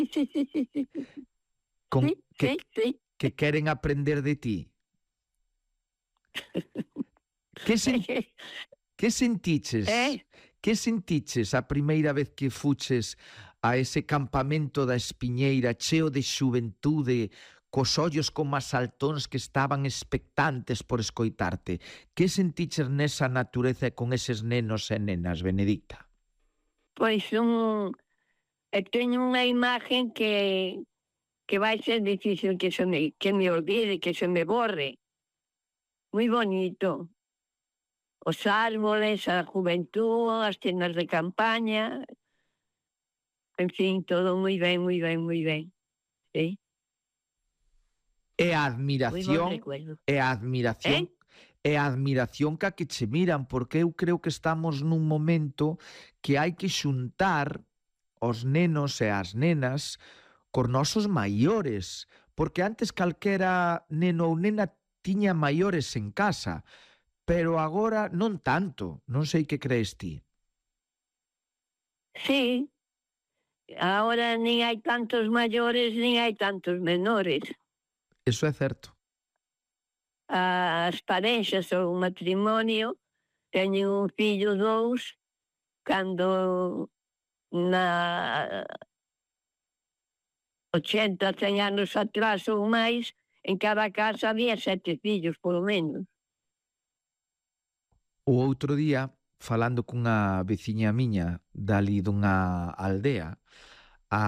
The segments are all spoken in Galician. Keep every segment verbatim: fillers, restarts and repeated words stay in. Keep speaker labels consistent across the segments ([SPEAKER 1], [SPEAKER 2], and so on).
[SPEAKER 1] sí, sí, sí, sí, sí,
[SPEAKER 2] con,
[SPEAKER 1] sí,
[SPEAKER 2] que,
[SPEAKER 1] sí, sí.
[SPEAKER 2] que queren aprender de ti. Que, sen, que sentiches?
[SPEAKER 1] Eh?
[SPEAKER 2] Que sentiches a primeira vez que fuches a ese campamento da Espiñeira cheo de xuventude, cos ollos como as saltóns que estaban expectantes por escoitarte? Que sentiches nesa natureza e con eses nenos e nenas, Benedicta?
[SPEAKER 1] Pois un... eh, teño unha imagen que que vai ser difícil que se me, que me olvide, que se me borre. Moi bonito. Os árboles, a juventud, as tendas de campaña, en fin, todo moi ben, moi ben, moi ben. Sí,
[SPEAKER 2] E a
[SPEAKER 1] moi bon
[SPEAKER 2] admiración,
[SPEAKER 1] recuerdo.
[SPEAKER 2] e a admiración,
[SPEAKER 1] Eh?
[SPEAKER 2] e a admiración ca que che miran, porque eu creo que estamos nun momento que hai que xuntar os nenos e as nenas cos nosos maiores, porque antes calquera neno ou nena tiña maiores en casa, pero agora non tanto, non sei que crees ti.
[SPEAKER 1] Sí, ahora nin hai tantos maiores, nin hai tantos menores.
[SPEAKER 2] Eso é certo.
[SPEAKER 1] As parexas ou o matrimonio teñen un fillo, dous, cando na ochenta, cen anos atrás ou máis, en cada casa había sete fillos, polo menos.
[SPEAKER 2] O outro día, falando cunha veciña miña dali dunha aldea, a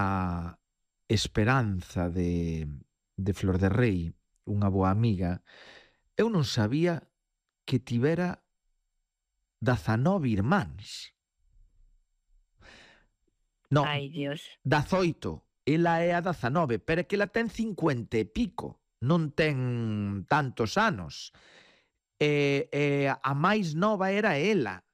[SPEAKER 2] Esperanza de, de Flor de Rei, unha boa amiga, eu non sabía que tivera dezanove irmáns. Non,
[SPEAKER 1] Ai, Dios.
[SPEAKER 2] dezoito. Ela é a dezanove, pero é que ela ten cincuenta e pico. Non ten tantos anos. E, e a máis nova era ela.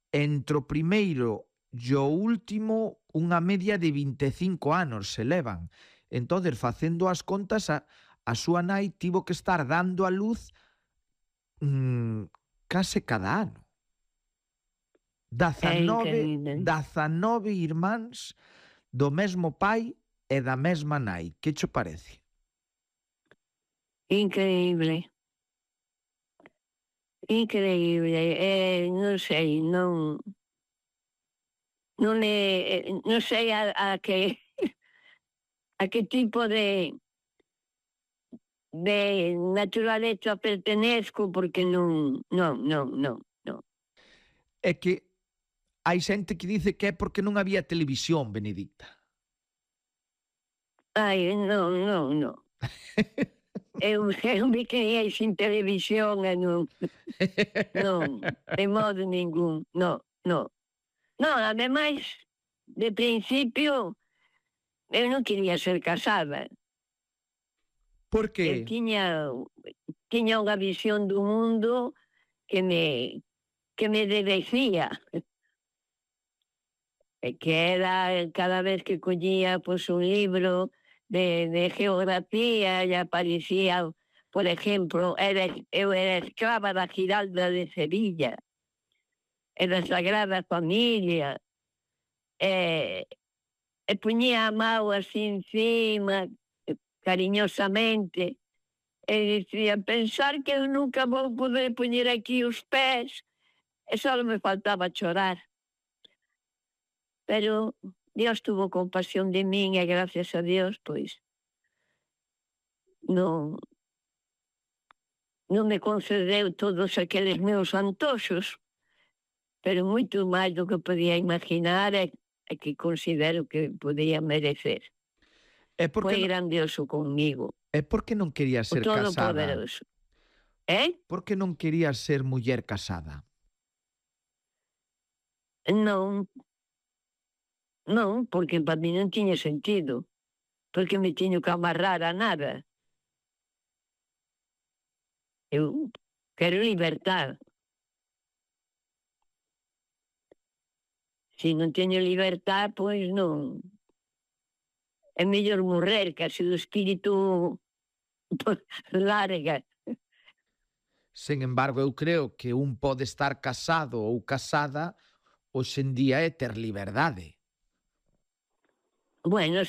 [SPEAKER 2] Entre o primeiro e o último, unha media de vinte e cinco anos se levan. Entón, facendo as contas, a, a súa nai tivo que estar dando a luz mmm, case cada ano.
[SPEAKER 1] É
[SPEAKER 2] dezanove,
[SPEAKER 1] increíble.
[SPEAKER 2] dezanove irmáns do mesmo pai e da mesma nai. Que che parece?
[SPEAKER 1] Increíble. Increíble. Eh, non sei, non... Non é... Non sei a, a que... a que tipo de... de naturaleza pertenezco, porque non... Non, non, non, non.
[SPEAKER 2] É que hai xente que dice que é porque non había televisión, Benedicta.
[SPEAKER 1] Ai, non, non, non. Eu, eu me criei sin televisión e non... Non, de modo ningún, non, non. Non, ademais, de principio, eu non quería ser casada.
[SPEAKER 2] Por
[SPEAKER 1] Eu
[SPEAKER 2] que?
[SPEAKER 1] tiña tiña unha visión do mundo que me que me devecía. E que era cada vez que collía, pois, un libro de de geografía e aparecía, por exemplo, era eu era escrava da Giralda de Sevilla, e da Sagrada Familia, e e poñía a mao así encima, cariñosamente, e dicía: "Pensar que eu nunca vou poder poñer aquí os pés", e só me faltaba chorar. Pero Dios tuvo compasión de min e gracias a Dios, pois, non non me concedeu todos aqueles meus antoxos, pero moito máis do que podía imaginar e, e que considero que podía merecer.
[SPEAKER 2] É porque
[SPEAKER 1] Foi
[SPEAKER 2] non,
[SPEAKER 1] grandioso comigo,
[SPEAKER 2] é porque non querías
[SPEAKER 1] o
[SPEAKER 2] ser casada.
[SPEAKER 1] Todopoderoso. Eh?
[SPEAKER 2] Por que non querías ser muller casada?
[SPEAKER 1] Non, non, porque para mí non tiña sentido, porque me tiño que amarrar a nada. Eu quero libertad. Se non teño libertad, pois non. É mellor morrer, que así o espírito larga.
[SPEAKER 2] Sen embargo, eu creo que un pode estar casado ou casada hoxe en día e ter liberdade.
[SPEAKER 1] Bueno,